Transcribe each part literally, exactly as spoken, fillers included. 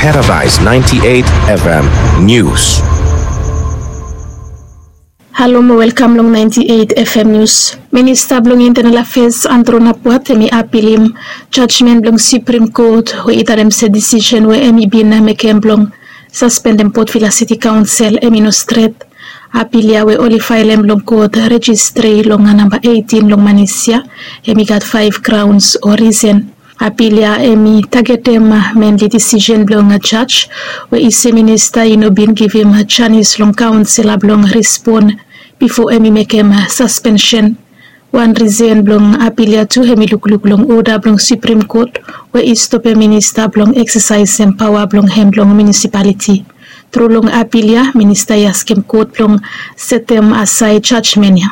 Paradise ninety-eight F M News. Halo mo welkam long ninety-eight F M News. Minista blong Internal Affairs Andrew Napuat hemi apilim jajmen blong Supreme Court we i talem se disisen we hemi bin mekem blong saspendem Port Vila City Council hemi no stret. Apil ya we oli faelem long kot rejistri long namba eighteen long manis ya, hemi gat faef graons o risen. Apil ya hemi tagetem menli disisen blong jaj we i se minista i no bin givim janis long kaonsela blong respon bifo hemi mekem saspensen. Wan risen blong apil ya tu hemi lukluk long oda blong Supreme Court we i stopem minista blong eksesaesem paoa blong hem long munisipaliti. Tru long apil ya minista i askem kot blong setem asaed jajmen ya.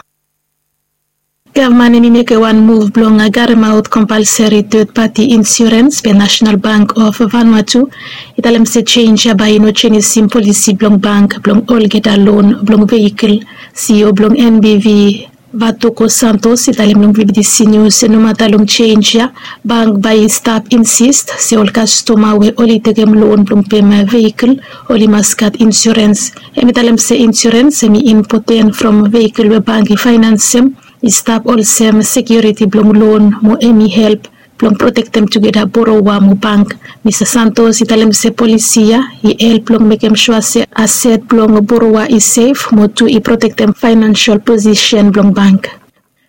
Gavman hemi mekem wan muv blong garemaot kompalseri ted pati insurens be National Bank of Vanuatu i talem se jenj ya bae i no jenisim polisi blong bank blong olgeta lon blong veikol. CEO blong NBV Vatoko Santos i talem long VBTC News se nomata long jenj ya, bank bae i stap insist se ol kastoma we oli tekem lon blong pem veikol oli mas gat insurens. Hemi talem se insurens hemi impoten from veikol we bank i faenansem i stap olsem sekiuriti blong lon mo hemi help blong protektem tugeta boroa mo bank. Mista Santos i talem se polisi ya i help blong mekem sua se aset blong boroa i sef mo tu i protektem faenansol posisen blong bank.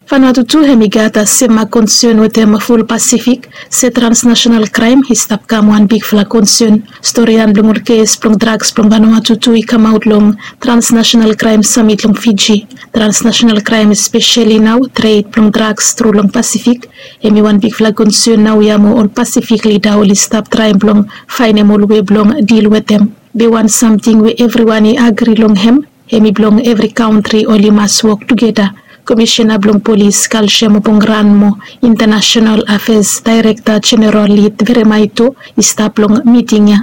Vanuatu tu hemi gat semmak konsen wetem ful Pasifik se transnasenal kraem i stap kam wan bigfala konsen. Storian blong ol kes blong draks blong Vanuatu tu i kamaot long Transnasenal Kraem Samit long Fiji. Transnasenal kraem espeseli nao tred blong draks tru long Pasifik hemi wan bigfala konsen naoia mo ol Pasifik lida oli stap traem blong faenem ol wei blong dil wetem. Be wan samting we evriwan i agri long hem hemi blong evri kantri oli mas wok tugeta. Komisena blong polis Kalsiam Pongran mo Intanasenal Afeas Daerekta Jeneral Lid Veremaito i stap long miting ya.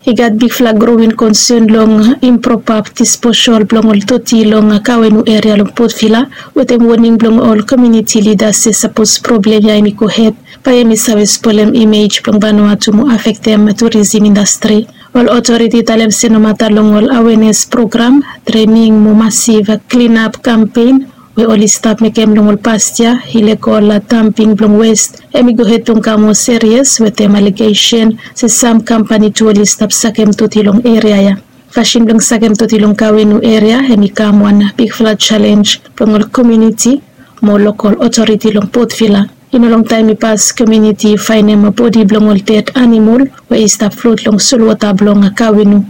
I gat bigfala growing konsen long impropa disposal blong ol doti long Kawenu eria long Port Vila wetem woning blong ol komuniti lidas se sapos problem ya hemi gohed bae hemi save spolem imej blong Vanuatu mo afektem turisim indastri. Ol otoriti i talem se nomata long ol awenes program, trening mo masiv klinap kampen we oli stap mekem long ol past yia, ilegol damping blong west hemi gohed blong kam moa serias wetem alegesen se sam kampani tu oli stap sakem doti long eria ya. Fasin blong sakem doti long Kawenu eria hemi kam wan bigfala jalenj blong ol komuniti mo lokol otoriti long Port Vila. I no longtaem i pas komuniti i faenem bodi blong ol ded anamol we i stap flot long solwota blong Kawenu.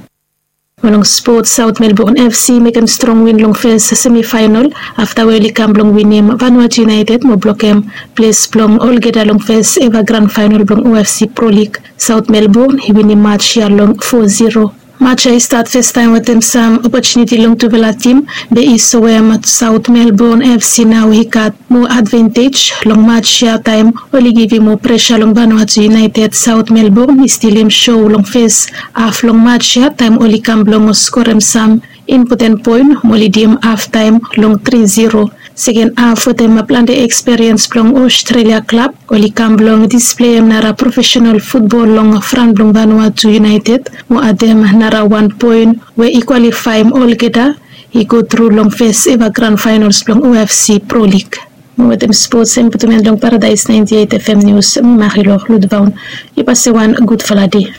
Mo long spot, South Melbourne FC i mekem strong win long fes semifaenol afta we oli kam blong winim Vanuatu United mo blokem ples blong olgeta long fes eva gran faenol blong OFC Pro League. South Melbourne i winim maj ya long fo zero. Maj ya i stat fastaem wetem sam opotuniti long tufala tim, be i soem South Melbourne FC nao i gat moa advantej long maj ya taem oli givim moa presa long Vanuatu United. South Melbourne i stilim sou long fes haf long maj ya taem oli kam blong skorem sam impoten poen mo lidim haftaem long tri zero. Seken haf wetem plante ekspiriens blong Ostrelia klab oli kam blong displeim nara profesenol futbol long fran blong Vanuatu United mo adem nara wan poen we i kwalifaem olgeta i go tru long fes eva gran faenols blong OFC Pro League. Mo wetem spots, hemi putum en long Paradise ninety eight FM News, mi Marilor Ludvaun. Yu pasem wan gudfala dei.